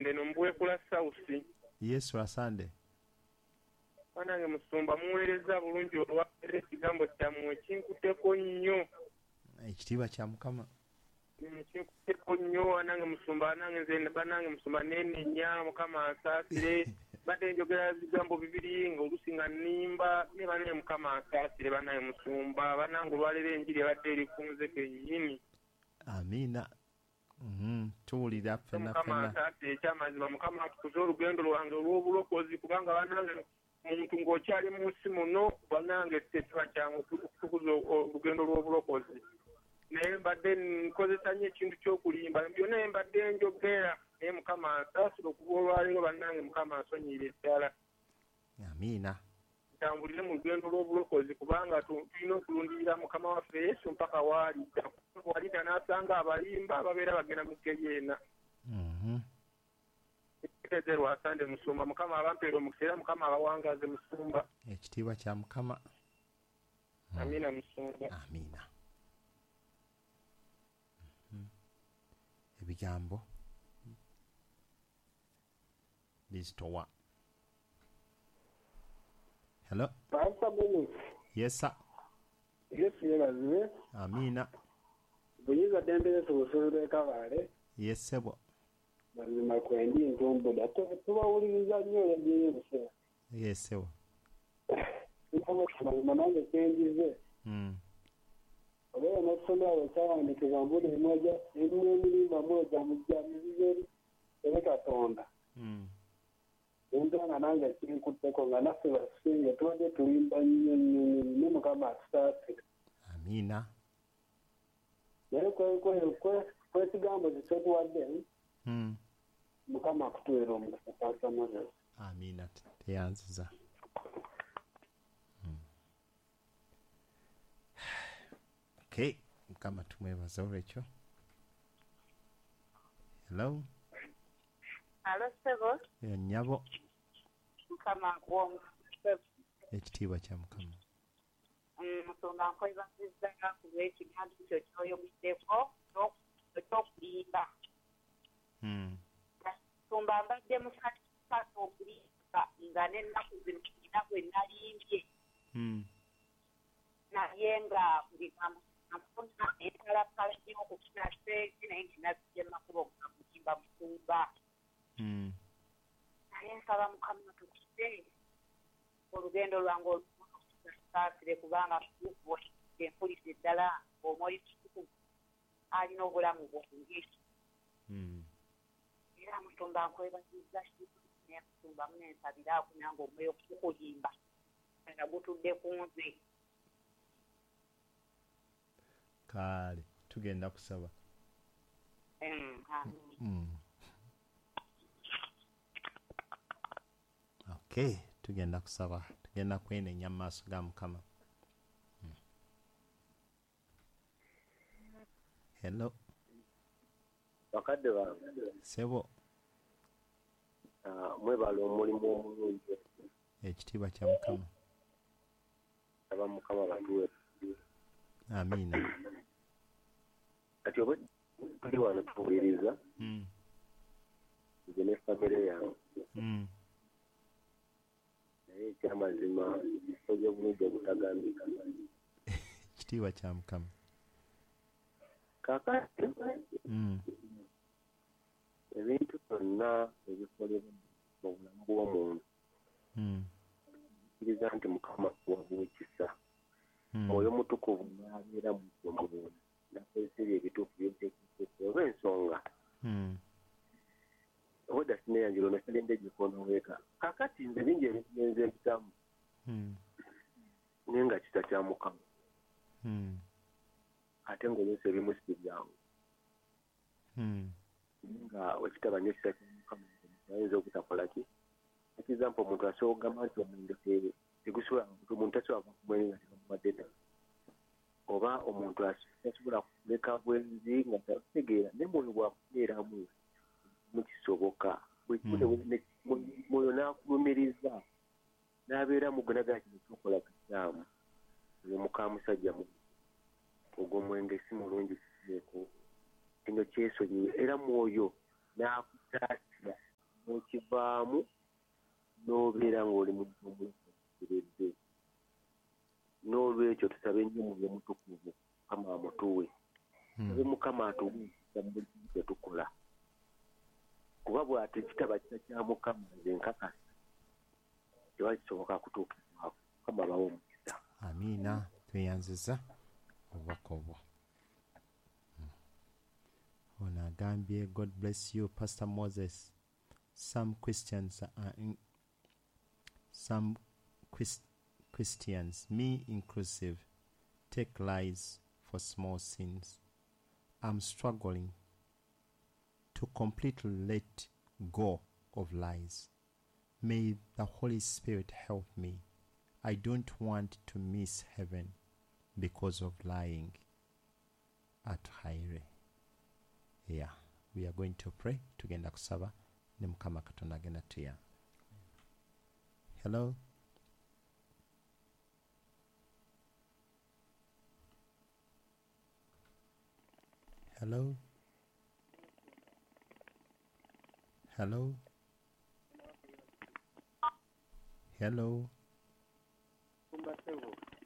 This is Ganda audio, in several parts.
Ndeno Mbuwekula South. Yes, Lwasande. Banange musumba, muweereza bulungi olwaleero, ekigambo kyammwe kinkutteko nnyo. Ekitiibwa kya Mukama. Kinkutteko nnyo banange musumba, banange nze, banange musumba, nenenya, Mukama ansaasire. Badde njogera bigambo bibiri nga oluusi nga nnimba, naye banange Mukama ansaasire, banange musumba, banange olwaleero enjiri ebadde eri ku nze kennyini. Amiina. Tuwulira ffenna. Mukama ffenna. ansaasire, ekyamazima Mukama atukuze olugendo lwange olw'obulokozi, kubanga banange muntu ng'okyali mu nsi muno, banange tekiba kyangu okutukuza olugendo lw'obulokozi. Naye mbadde nkozesa nnyo ekintu ky'okulimba, byonna mbadde njogera, naye Mukama ansaasire okuva olwaleero, bannange Mukama ansonyiire ddala. Amiina. Ntambulire mu lugendo lw'obulokozi, kubanga tulina okulundirira Mukama waffe Yesu mpaka waalidda. Walidda n'asanga abalimba babeera bagenda mu ggeyeena. Teeze Lwasande musumba, Mukama abampeera omukisa era Mukama abawangaze musumba. Ekitiibwa kya Mukama. Amiina musumba. Amiina. Ebigambo bizitowa. Hello. Pastor Dennis. Yes, sir. Yesu yeebazibwe. Amiina. Buyinza ddembe Yesu busuulu lw'e Kabaale. Yes, ssebo. Mazima kwendi ntumbuda tubawuliriza nnyo yagiye ebiseera. Yes, ssebo. Mazima nange kyenjize. Obeera n'okusomera bwe kyawandiikibwa mbuli emwoja emirimu mwoja mujja mizizo eri Katonda. Enta nga nange kinkutteko nga naffe batusinge tubadde tulimba nnyo nnyo nnyo ne Mukama atusaasire. Amiina. Naye kwekigambo kye kyotuwadde, Mukama akutuweera omukisa, Pastor Moses. Amiina, teyanziza. Okay, Mukama tumwebaza olwekyo. Hello. Alo ssebo. Nnyabo. Mukama akuwe omukisa. Ekitiibwa kya Mukama. Musumba, nkwebazizza ku lw'ekigambo ekyo ky'oyogeddeko eky'okulimba. Musumba, mbadde musanyufu okulimba nga n'ennaku zino nina gwe nalimbye. Naye nga bigambo nfuna empalapala nnyo okufuna ssente, naye nga nazijja mu makubo ga kulimba musumba. Naye nsaba Mukama atukuze olugendo lwange olw'okusaasire, kubanga mutuufu mpulidde ddala ng'Omwoyo Mutukuvu alina obulamu bwange. Era musumba, nkwebazizza naye musumba munensabiraako nange omwoyo gukulimba nga gutudde ku nze. Kale tugenda kusaba. Okay, tugenda kusaba, tugenda kwenenya mu maaso ga Mukama. Hello. Bakadde bange. Ssebo. Mwebale omulimu omulungi. Ekitiibwa kya Mukama. Aba Mukama batuwe. Amiina. Kati oba tuli wano tuwuliriza. Nze ne famire yange. Naye ekyamazima okoze bulungi obutagambika. Ekitiibwa kya Mukama. Kaakati ebintu byonna ebikolebwa mu bulamu bw'omuntu, kkiriza nti Mukama akuwa ekisa. Mwoyo Mutukuvu n'abeera mu ggwe mu n'akozesa ebyo ebituufu by'oteekeddwa olw'ensonga. Obwedda sineeyanjula ono sigenda egikondo weeka. Kaakati nze bingi ebintu bye nze mpitamu. Naye nga kisa kya Mukama. Ate ng'oluusi ebimu si byangu. Nga wekitaba nnyo kisa kya Mukama, omuntu ayinza obutakola ki? Example, omuntu asobola okugamba nti omwenge tegusobola, omuntu tasobola kuva ku mwenge nga tebamuwadde ddala. Oba omuntu tasobola kuleka bwenzi nga tategeera, naye mwoyo bw'akubeeramu mukisoboka. Mwoyo n'akulumiriza n'abeera mu gwe n'agamba kino ky'okola kikyamu. Oyo muka musajja ogwo omwenge si mulungi kuteeko. Kino kyesonyiwe era mwoyo n'akusaasira. N'ovaamu n'obeera ng'oli muntu omulokozi. N'olwekyo tusabe nnyo Omwoyo Omutukuvu Mukama amutuwe. Tusabe Mukama atuwe mu buli kimu kye tukola. Kuba bw'ate kitaba kisa kya Mukama nze nkakasa tewali kisoboka kutuukibwako. Mukama abawe omukisa. Amiina. Tweyanziza obubaka obwo. Ono agambye, God bless you, Pastor Moses. Some Christians are Christians, me inclusive, take lies for small sins. I'm struggling to completely let go of lies. May the Holy Spirit help me. I don't want to miss heaven because of lying. At Haire. Yeah, we are going to pray. Tugenda kusaba ne Mukama Katonda agenda tuyamba. Hello. Hello. Hello. Hello.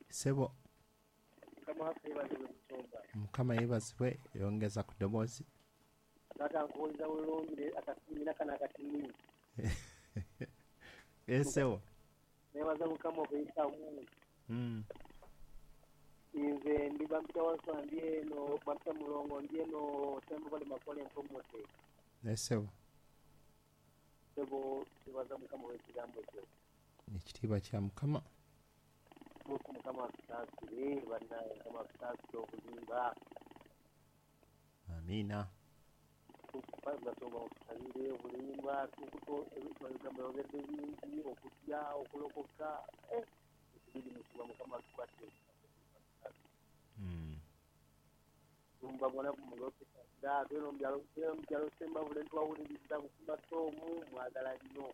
Sebo. Mukama yeebazibwe, yongeza ku ddoboozi. Sebo. Nebaza Mukama okuyitamu. Nze ndi bampita Waswa, ndi eno bampita Mulongo, ndi eno Sembabule Makole Mpomote. Sebo. Sebo, nebaza Mukama olw'ekigambo kyo. Ekitiibwa kya Mukama. Mukama atusaasire, bannaye Mukama atusaasire obulimba. Amiina. Basonga otusabire obulimba, ebigambo byogedde bingi, okutya, okulokoka, ekibiri mutuba Mukama atukwatire. Tumba bona kumulokesa, tweno mu byalo Sembabule ntwawuliriza Bukuma Tomu, mwagala nnyo.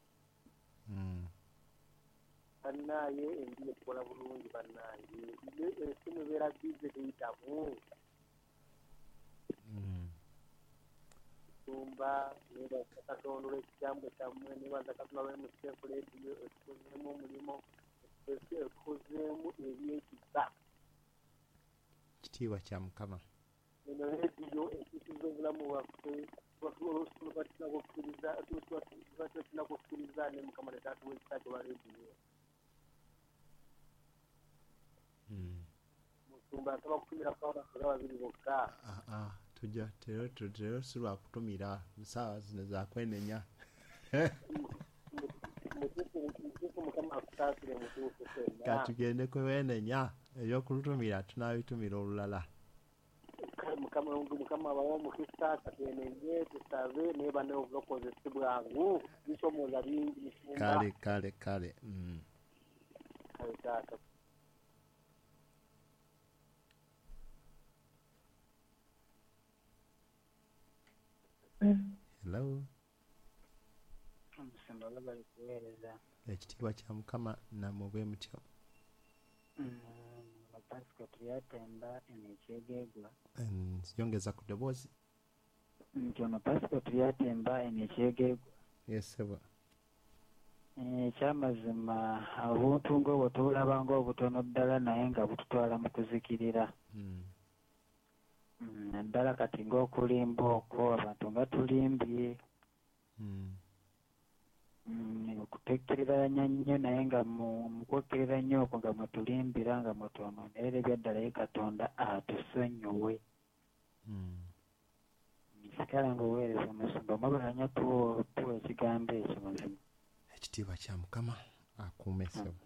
Bannaye endiye tukola bulungi bannaye. Esimu ebeera bize teyitamu. Tumba nebaza Katonda olw'ekigambo kyammwe, nebaza Katonda olw'emusefu leediyo etukozeemu omulimu, etukozeemu ebyekisa. Kitiibwa kya Mukama. Eno leediyo ekyusiza obulamu bwaffe, tulina kukkiriza ne Mukama ne taatuwa ekisa kye olwa leediyo. Musumba nsaba kutumirako abantu nga babiri bokka. Tujja tero si lwa kutumira, ssaawa zino za kwenenya. Mutuufu Mukama akusaasire mutuufu ffenna. Katugende kwenenya, eby'okulutumira tunaabitumira olulala. Mukama abawe omukisa, katwenenye, tusabe naye bannaye obulokozi si bwangu, bisoomooza bingi musumba. Kale kale kale. Kale taata. Hello. Omusumba bali kuweereza. Ekitiibwa kya Mukama nammwe bwe mutyo. Pasika Turyatemba eno Ekyegegwa. Yongeza ku ddoboozi. Nti ono Pasika Turyatemba eno Ekyegegwa. Yes, sebo. Ekyamazima obuntu ng'obwo tubulaba ng'obutono ddala naye nga bututwala mu kuzikirira. Naddala kati ng'okulimba okwo abantu nga tulimbye. Okutekkereranya nnyo naye nga mu kwekkerera nnyo okwo nga mwetulimbira nga mwetwonoonera era ebyaddala ye Katonda atusonyiwe. Nsikala ng'oweereza omusumba mwebale nnyo tuwa ekigambo ekyo mazima. Ekitiibwa kya Mukama akuume ssebo.